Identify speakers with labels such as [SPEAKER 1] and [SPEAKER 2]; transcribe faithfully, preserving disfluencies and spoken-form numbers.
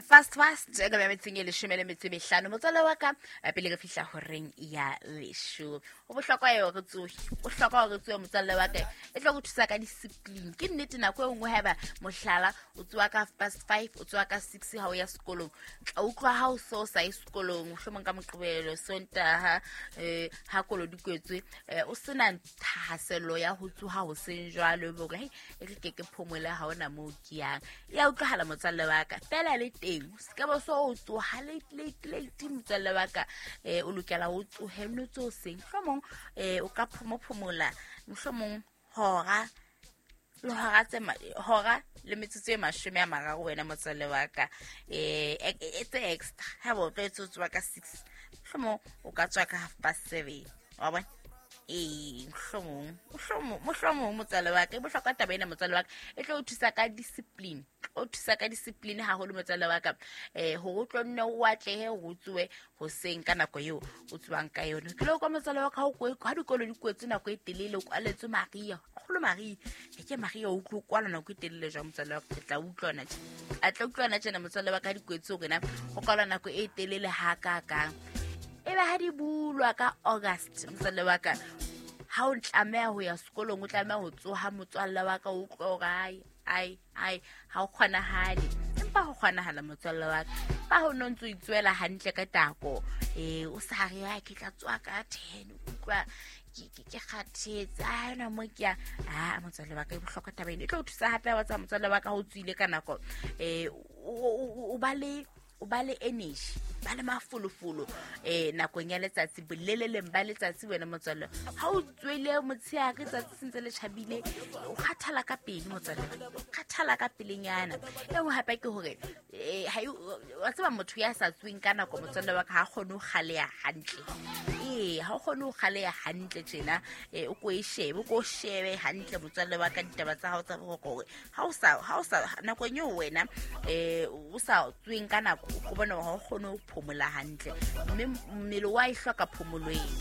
[SPEAKER 1] Fast fast ka ba metseng e leshome le metso e mehlano, motswalle wa ka, eh, pele re fihla horeng ya leshome. Ho bohlokwa eo re tsohe, ho bohlokwa hore re tsohe, motswalle wa ka, e tlo go thusa ka discipline. Ke nnete, nako e nngwe haeba mohlala o tsoha ka half past five, o tsoha ka six ha o ya sekolong, tla utlwa ha o so sa ye sekolong, mohlomong ka Moqebelo, Sontaha, um ha kolo di kwetswe, um o sena thahasello ya ho tsoha hoseng jwalo, ebe hore hei, e re ke ke phomole, ha ona moo ke yang. E ya utlwahala, motswalle wa ka, fela le teng o se ka ba so o tsoha late late late, motswalle wa ka. um o lokela o tsohe, nno tse hoseng, mohlomong um o ka phomophomola mohlomong hora le hora tse ma- hora le metsotso e mashome a mararo, wena motswalle wa ka, um e tse extra. Ha ba o tlwaetse ho tsoha ka six, mohlomong o ka tswa ka half past seven, wa bona? Ee, mohlomong mohlomong mohlomong motswalle wa ka, e bohlokwa taba ena, motswalle wa ka, e tlo o thusa ka discipline, o thusa ka discipline haholo, motswalle wa ka, um hore o tlo nne o atlehe hore o tsohe hoseng ka nako eo o tswang ka yone. Ke le kwa, motswalle wa ka, ha o kwe- ha dikolo di kwetswe nako e telele, o kwaletswe maria kgolo, maria e ke maria, o utlwe o kwalwa nako e telele jwang, motswalle wa ka? Ke tla utlwana tje, a tla utlwana tjena, motswalle wa ka, ha di kwetse hore na go kwalwa nako e telele hakakang. Ebe ha di bulwa ka August, motswalle wa ka, ha o tlameha ho ya sekolong, o tlameha ho tsoha, motswalle wa ka, o utlwe hore ai ai ai, ha o kgonahale. Empa ho kgonahala, motswalle wa ka, ba ho no ntso itswela hantle ka tako, um o sa re "Ai, ke tla tsoha ka ten, o utlwa ke ke- ke kgathetse, a ona mo ke ya." A motswalle wa ka, e bohlokwa taba ena, e tlo o thusa hape wa tseba, motswalle wa ka, ha o tswile ka nako, um o ba le o ba le energy, ba le mafolofolo um nakong ya letsatsi, boleleleng ba letsatsi, wena motswalle. Ha o tswele motshehare, tsatsi sentse le tjhabile, o kgathala ka pele, motswalle, o kgathala ka pelenyana. E nngwe hape ke hore eh, ha e- wa tseba, motho ya sa tsweng ka nako, motswalle wa ka, ha kgone ho kgaleha hantle. Ee, ha o kgone ho kgaleha hantle tjena, um o ko e shebe, o ko o shebe hantle, motswalle wa ka, ditaba tsa hao tsa boroko, hore ha o sa ha o sa nakong eo wena um o sa tsweng ka nako, o ko bona hore ha o kgone ho phomola hantle, mme mmele wa e hloka phomolo eo.